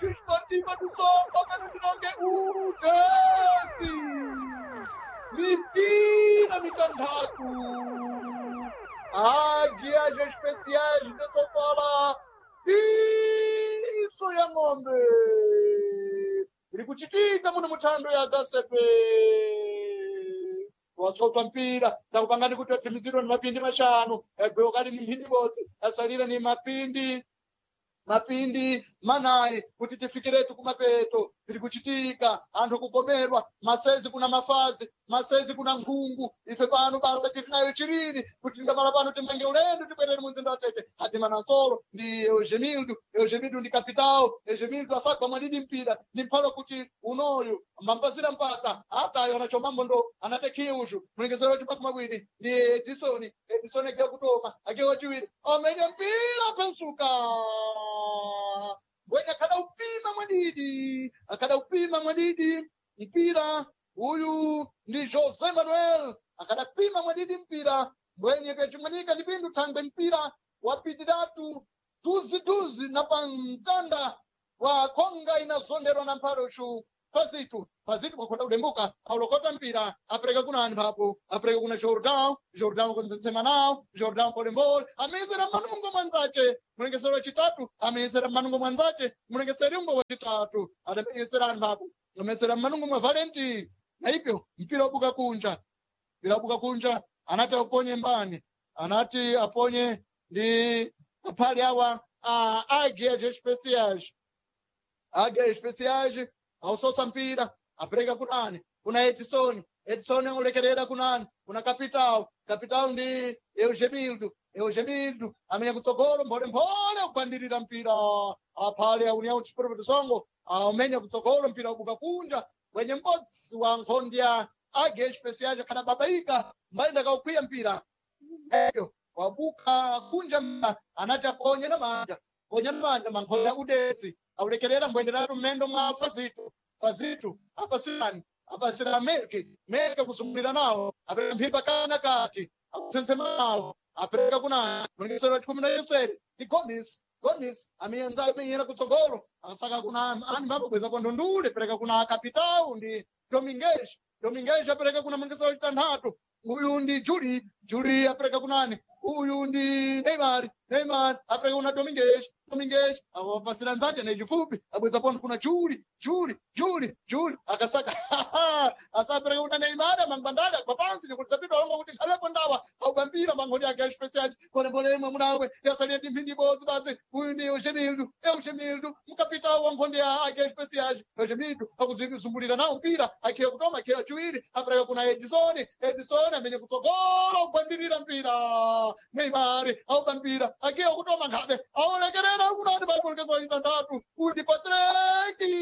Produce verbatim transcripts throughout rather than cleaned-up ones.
Desportiva do Songo, pano Udesi. Mipira mitandatu. Águias Especiais de Sofala. Isso ya ng'ombe. Iri kuchitika muno muthando ya Gasepe. Watsotwa mpira takupangani kuti aphimizidwe ni mapindi mashanu egwewo kali ni mphindi bodzi asalira ni mapindi mapindi manayi kuti tifikiretu kumapeto tiri kuchitika anthu kugomerwa masezi kuna mafazi masezi kuna nkhungu ife pano basa tiri nayo chiriri kuti tingamala pano timange ulendo tibwerere mumzinda wa tete hatimana nsolo ndi eugemildo eugemildo ndi capital eugemildo asagwa mwadidi mpira ndi mphalo kuti unoyu mambazira mpata atayo anachomambo ndo anatekhiye uchu mulengezero wachipaka mawiri ndi edison edison agiwa kutoma agiwa wachiwiri amenya mpira pensuka mbwenye akhada upima mwadidi akhada upima mwadidi mpira uyu ndi jose manuel akadapima mwadidi mpira mbwenye kachimwanika ndi pindu thangwe mpira wapitiratu duziduzi na pamtanda wa konga inazonderwa na mphaluxu pazitu pazitu kwakhonda kudembuka aulokota mpira apereka kuna anthu apo apereka kuna jordan jordan kunzensema nawo jordan polembole amezera manungo mwanzace mulengesero wachitatu amezera manungo mwanzace mulengeseri umbo wachitatu adamezera anthu apo amezera manungo mwa valenti na ipyo mpira wabuka kunja mpira wabuka kunja anati aponye mbani anati aponye ndi aphali awa a águias especiais águias especiais ausosa mpira apereka kunani kuna edison edison aulekerera kunani kuna capital capital ndi eugemildo eugemildo amene kutsogolo mpholemphole kugwandirira mpira aphale aunião chiperopeto songo amenya kutsogolo mpira wabuka kunja wenye m'bodzi wa nkhondi ya águia especiais akhala babaika mbayenda kaukwiya mpira eyo wabuka kunja mpira anati aponye na manja ponya na manja mankhondi ya udesi aulekerera mbwenderatu mmendo mwa fazitu fazitu apasirani apasira melki melki kusungulira nawo apereka mphipa kana kati akusensema nawo apereka kuna mulengesero wa chikumi na yoseri ndi gomis gomis amenyenza amenyera kutsogolo asaka kuna ani mbapo bweza ndundule pereka kuna kapitau ndi dominguez dominguez apereka kuna mulengesero wa chitanthatu uyu ndi juli juli apereka kunani uyu ndi neymar neymar apereka kuna dominguez dominguez awapasira nzake nechifupi abweza pondo kuna juli juli juli juli akasaka asapereka kuna neymar amangwandale agwa pansi nikuti zapita alonga kuti khalepo ndawa aubambira mankhodi ake especial polepole imwe munawe yasalira ndi mphindi ibodzi basi uyu ndi eugenildo eugenildo mkapitawo wa nkhonde ya ake especial eugenildo akuzungumbulira nawo mpira akhiya kutoma akhiya chiwiri apereka kuna edison edison amenye kutsogolo kugwandirira mpira neymar aubambira akhiya kutoma nkhabe aolekerera kunani pamulekezo itandatu uyu ndi patreki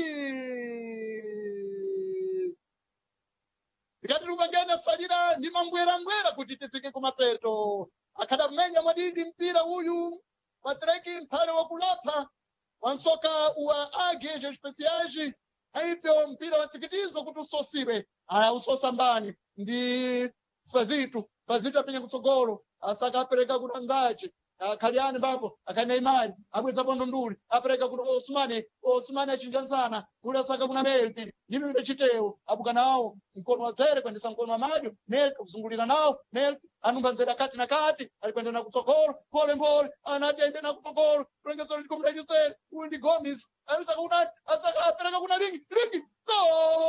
tikati tikukangena salira ndi mambwerambwera kuti tifike kumapeto akhada mmenya mwadidi mpira uyu patreki mphale wakulapha wansoka wa águias especiais aipyo mpira watsikitizwa kuti usosiwe aya usosa mbani ndi fazitu fazitu apenya kutsogolo asaka apereka kuti anzace akhaliani papo akhaneimari abweza pondo nduli apereka kuti osmani osmani achinja msana kuli asaka kuna melki ndipipita chitewo abuka nawo mkono wa dzere kuendesa mkono wa madyo melki kuzungulira nawo melki anumba nzera kati na kati alikwenda na kutsogolo pole mpole anati aende na kutsogolo kulengesero chikumi na chisere uyu ndi gomis asaka kuna asaka apereka kuna lingi lingi gol